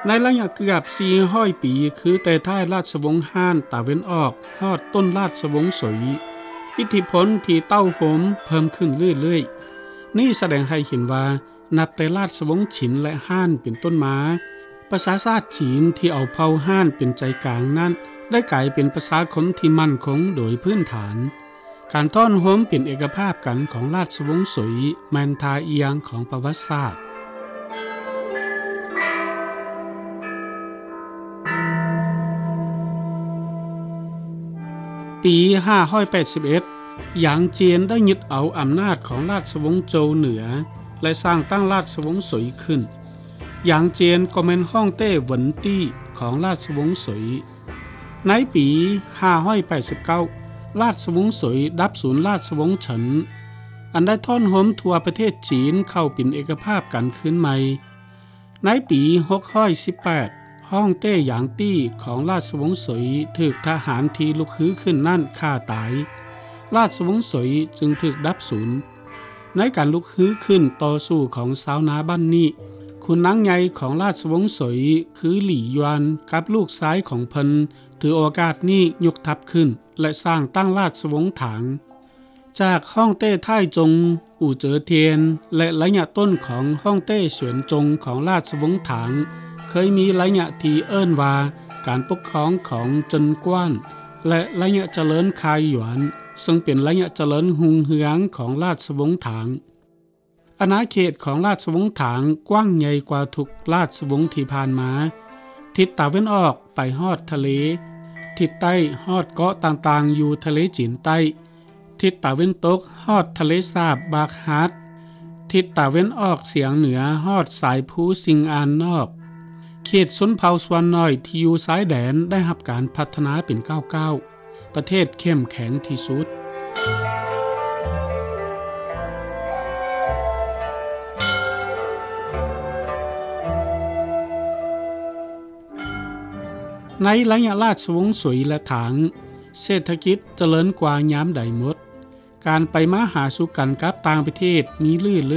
ໃນໄລຍະເກືອບສີ່ຮ້ອຍປີ ຄືແຕ່ທ້າຍລາຊະວົງຮານຕາເວັນອອກ ຮອດຕົ້ນລາຊະວົງສົຍ, ອິດທິພົນທີ່ເຕົ້າໂຮມເພີ່ມຂຶ້ນເລື້ອຍໆ. ນີ້ສະແດງໃຫ້ເຫັນວ່າ ນັບແຕ່ລາຊະວົງຊິນ ແລະ ຮານເປັນຕົ້ນມາ, ປະຊາຊາດຈີນທີ່ເອົາເຜົ່າຮານເປັນໃຈກາງນັ້ນ ໄດ້ກາຍເປັນປະຊາຊົນທີ່ໝັ້ນຄົງໂດຍພື້ນຖານ. ການທ້ອນໂຮມເປັນເອກະພາບກັນຂອງລາຊະວົງສົຍ ແມ່ນທ່າອ່ຽງຂອງປະຫວັດສາດ. ປີຫ້າຮ້ອຍແປດສິບເອັດ ຢາງຈຽນໄດ້ຍຶດເອົາອຳນາດຂອງລາຊະວົງໂຈວເໜືອ ແລະ ສ້າງຕັ້ງລາຊະວົງສົຍຂຶ້ນ. ຢາງຈຽນກໍແມ່ນຮ່ອງເຕ້ຫວັນຕີ້ຂອງລາຊະວົງສົຍ. ໃນປີຫ້າຮ້ອຍແປດສິບເກົ້າ ລາຊະວົງສົຍດັບສູນລາຊະວົງເສີນ ອັນໄດ້ທ້ອນໂຮມທົ່ວປະເທດຈີນເຂົ້າເປັນເອກະພາບກັນຄືນໃໝ່. ໃນປີຫົກຮ້ອຍສິບແປດ ຮ່ອງເຕ້ຢາງຕີ້ຂອງລາຊະວົງສົຍຖືກທະຫານທີ່ລຸກຮືຂຶ້ນນັ້ນຂ້າຕາຍ, ລາຊະວົງສົຍຈຶ່ງຖືກດັບສູນ. ໃນການລຸກຮືຂຶ້ນຕໍ່ສູ້ຂອງຊາວນາບ້ານນີ້, ຂຸນນາງໃຫຍ່ຂອງລາຊະວົງສົຍ ຄື ຫຼີ່ຍວນ ກັບລູກຊາຍຂອງເພິ່ນ ຖືໂອກາດນີ້ຍົກທັບຂຶ້ນ ແລະ ສ້າງຕັ້ງລາຊະວົງຖາງ. ຈາກຮ່ອງເຕ້ທ້າຍຈົງ ອູ່ເຈີທຽນ ແລະ ໄລຍະຕົ້ນຂອງຮ່ອງເຕ້ສວນຈົງຂອງລາຊະວົງຖາງ ເຄີຍມີໄລຍະທີ່ເອີ້ນວ່າການປົກຄອງຂອງເຈິນກວ້ານ ແລະ ໄລຍະຈະເລີນຄາຍຢວນ ເຊິ່ງເປັນໄລຍະຈະເລີນຮຸ່ງເຮືອງຂອງລາຊະວົງຖາງ. ອານາເຂດຂອງລາຊະວົງຖາງກວ້າງໃຫຍ່ກວ່າທຸກລາຊະວົງທີ່ຜ່ານມາ. ທິດຕາເວັນອອກໄປຮອດທະເລ, ທິດໃຕ້ຮອດເກາະຕ່າງໆຢູ່ທະເລຈີນໃຕ້, ທິດຕາເວັນຕົກຮອດທະເລສາບບາກຮາດ, ທິດຕາເວັນອອກສຽງເໜືອຮອດສາຍພູຊິງອານນອກ. ເຂດຊົນເຜົ່າສ່ວນໜ້ອຍທີ່ຢູ່ຊາຍແດນໄດ້ຮັບການພັດທະນາເປັນກ້າວໆ. ປະເທດເຂັ້ມແຂງທີ່ສຸດ. ໃນໄລຍະລາຊະວົງສວຍ ແລະ ຖາງ, ເສດຖະກິດຈະເລີນກວ່າຍາມໃດໝົດ. ການໄປມາຫາສູ່ກັນກັບຕ່າງປະເທດມີລື້ເລີຍ